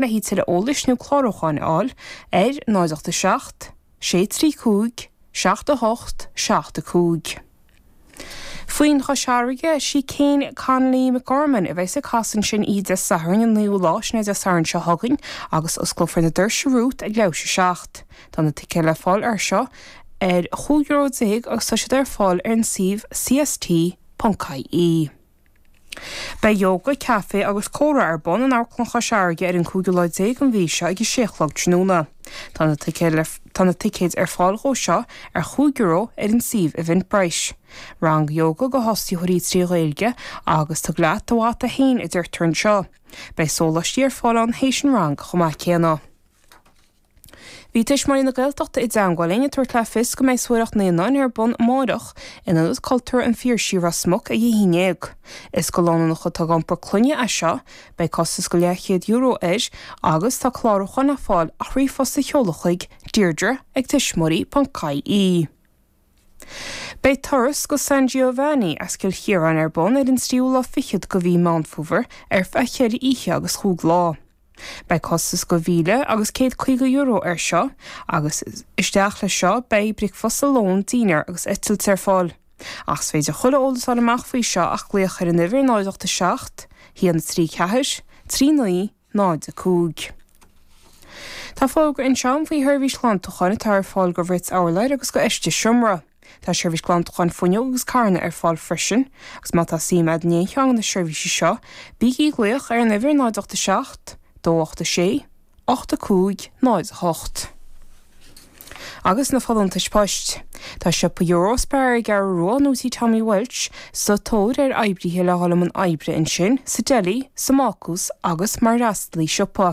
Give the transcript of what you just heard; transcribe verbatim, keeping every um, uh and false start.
Le tuilleadh eolais nó clárúcháin a fháil ar náid ocht a seacht, sé trí cúig, seacht a hocht, seacht a cúig. Foinn Chois Fharraige, sí Kane Connolly McGorman a bheas ag casadh ansin oíche Dé Sathairn an naoú lá, sin é Dé Sathairn seo chugainn, agus osclófar na doirse romhat ag leathuair théis a seacht. Tá na ticéid le fáil ar seo ar chúig euro déag agus tá siad ar fáil ar an suíomh cst.ie. Beidh ióga, caife agus comhrá ar bun in Amharclann Chois Fharraige ar an cúigiú lá déag den mhí seo ag a sé a chlog tráthnóna. Tá na ticéid le tá na ticéid ar fáil dhó seo ar chúig euro ar an suíomh Eventbrite. Rang ióga do thosaitheoirí trí Ghaeilge agus tabhair leat do mhata féin a deirtear anseo. Beidh sóláistí ar fáil ann théis an rang chomh maith céanna. Bhí Tuismitheoirí na Gaeltachta i dteagmháil linn ag tabhairt le fios go mbeidh suathaireacht naíonáin ar bun amárach in Ionad Cultúrtha an Phiarsaigh, Ros Muc ag a haon déag. Is do lánúineacha atá ag iompar clainne é seo, beidh costas go leathchéad euro air agus tá clárúchán le fáil ach ríomhphost a sheoladh chuig deirdre ag tuismitheoirí.ie. Beidh turas go San Giovanni as Cill Chiaráin ar bun ar an tríú lá fichead de mhí Meán Fómhair ar feadh cheithre oíche agus chúig lá. Beidh costas go mhíle agus céad caoga euro air seo agus isteach leis seo beidh bricfeasta lón dinnéar agus eitilt ar fáil. Ach is féidir chuile eolas a fháil amach faoi seo ach glaoch ar an uimhir náid ocht a seacht, haon trí ceathair, trí naoi, náid a cúig. Tá fógra anseo faoi sheirbhís ghlantúcháin atá ar fáil go bhrit urláir agus go fheistis seomra. Tá seirbhís glantúcháin fuinneog agus carranna ar fáil freisin, agus má tá suim agat in aon cheann de na seirbhísí seo, bígí ag glaoch ar an uimhir náid ocht a seacht, dó ocht a sé, ocht a cúig, náid a hocht. Agus na folúntais poist. Tá siopa Eurospar ar an gCeathrú Rua nó tí Tommy Walsh sa tóir ar oibrithe le dhul i mbun oibre ansin, sa deli, sa mbácús agus mar fhreastalaí siopa.